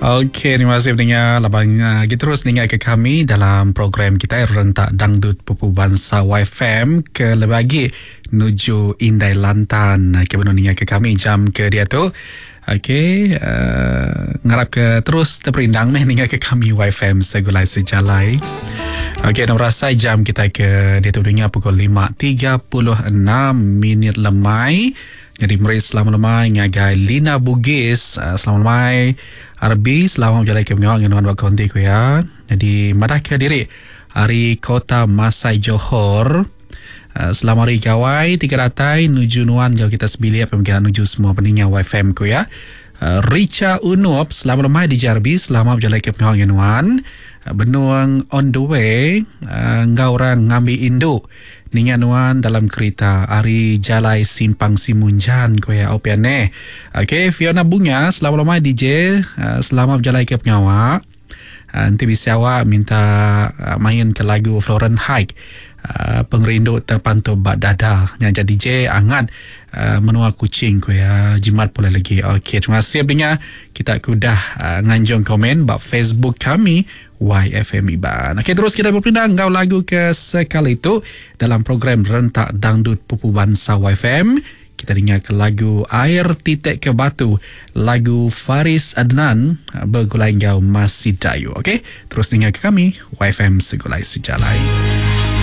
Okey, terima kasih pendengar laban uh, kita terus ninga ke kami dalam program kita Rentak Dangdut Pupu Bansa YFM ke lebih lagi nuju Indai Lantan ke benung ninga ke kami jam ke dia tu. Okey, uh, ngarap ke terus terperindang meh ninga ke kami YFM Segulai Sejalai. Okey, nak berasai jam kita ke dia tu dengar pukul 5.36 minit lemai. Jadi meri selamat lemai ngagai Lina Bugis. Uh, selamat lemai RB, selamat berjalan ke pengawal dengan nuan buat konti ku ya. Jadi madah ke diri hari Kota Masai Johor. Uh, selamat hari gawai tiga datai nuju nuan jauh kita sebilik pemikiran nuju semua peninggal YFM ku ya. Uh, Richa Unup, selamat lemai di JRB, selamat berjalan ke pengawal dengan nuan. Uh, benuang on the way, uh, ngau orang ngambil induk. Ninga nuan dalam kerita ari jalai simpang Simunjan ko ya opian ne. Okey, Fiona Bunga, selamat lemai DJ, selamat berjalan ke pengawak. Nanti bisa awak minta main ke lagu Floren Hike. Pengerindu terpantul bak dada. Yang jadi DJ angat menua kucing ko ya jimat pula lagi. Okey, terima kasih Binga. Kita kudah nganjung komen bak Facebook kami YFM Iban. Okey, terus kita berpindah ngau lagu ke sekali itu dalam program Rentak Dangdut Pupu Bansa YFM. Kita dengar ke lagu Air Titik ke Batu, lagu Faris Adnan bergulai ngau Masih Dayu. Okey, terus dengar ke kami YFM Segulai Sejalai.